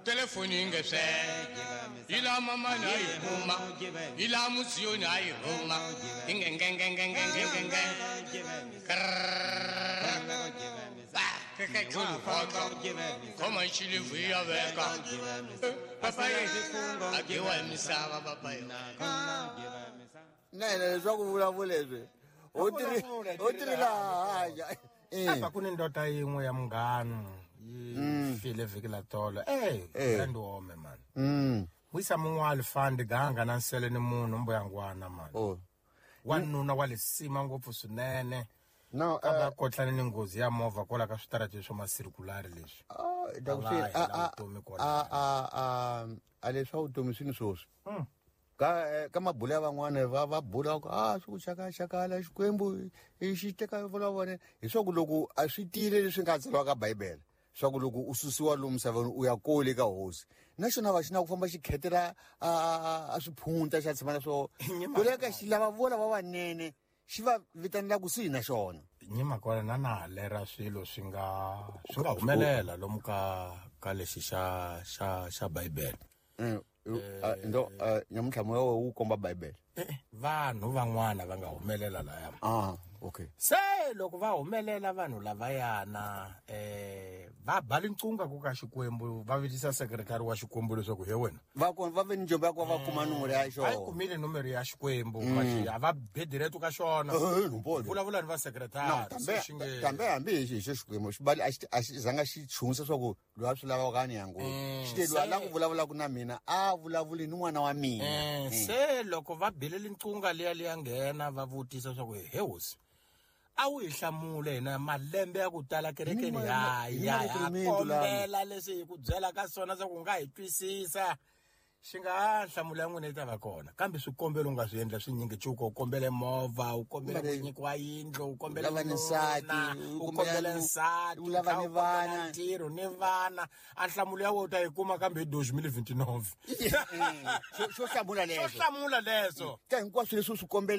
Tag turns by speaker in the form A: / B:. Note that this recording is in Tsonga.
A: Telefoni nge swe ila mama na yi huma ila musiyo na yi huma inge nge nge nge nge nge nge ke chulu hoto koma chili vuya veka papa ye agiwa misava papa ye
B: na leswaku vulavulezwe u tirhi laha.
C: Apa ku ni ndoda yin'we ya munghano yi file vhiki la tolo. Ndi wome mani. Wisa mun'wali fandi ganga na nsele ni munhu mbuyangwana mani. Wanuna wa lisima ngopfu swinene.
B: No,
C: ka kotlana ni nghozi ya movha kwala ka switarati swa masirkulari leswi.
B: A leswa vutomi swi ni swoswi. Ka mabula ya van'wana va bula ku a swi ku xakaxakala Xikwembu xi teka vula vona hi swa ku loko a swi tiyile leswi nga tsariwa ka Bibele swa ku loko u susiwa lomu misaveni u ya kole ka hosi na xona va xi na ku famba xi khetela a swiphunta xa tshama na swona ku le ka xi lava vola va vanene xi va vitanela kusuhi na xona.
C: Nyima kona na na halera swilo swi nga humelela lomu ka lexi xa Bibele.
B: Ndo nyamuntlha moya wu komba Bibele.
C: Vanhu van'wana va nga humelela laya.
B: Okay.
C: Se loko va humelela vanhu lavayana va ba lincunga ku ka Xikwembu va vitisa secretary wa Xikwembu leswaku he wena.
B: Va va ve ni njombo ya ku va kuma nomoro ya xona.
C: A yi kumile nomoro ya Xikwembu a va bediretu ka xona. Vulavula ni va secretary.
B: Kambe hambi hi xo Xikwembu xi bali a xi zanga xi chunsa swa ku loyi a swi lavaka a ni ya ngopfu. Xi te loyi a lava ku vulavulaka na mina a vulavuli ni n'wana wa mina.
C: Se loko va bile lincunga liya nghena va vutisa swa ku he hosi a wu hi hlamule hina malembe ya ku tala kerekeni ya kombela leswi hi ku byela ka swona swa ku nga hi twisisa xi nga nhlamulo ya n'wina yi ta va kona kambe swikombelo u nga swi endla swinyingi cuko u kombele movha u kombele ku nyikiwa yindlu u kombele
B: nsati
C: u kombele nsati
B: u lava ni vana
C: ntirho ni vana a nhlamulo ya wena u ta yi kuma kambe hi 2029
B: xo hlamula
C: leswo
B: ka hinkwaswo leswi u swi kombela.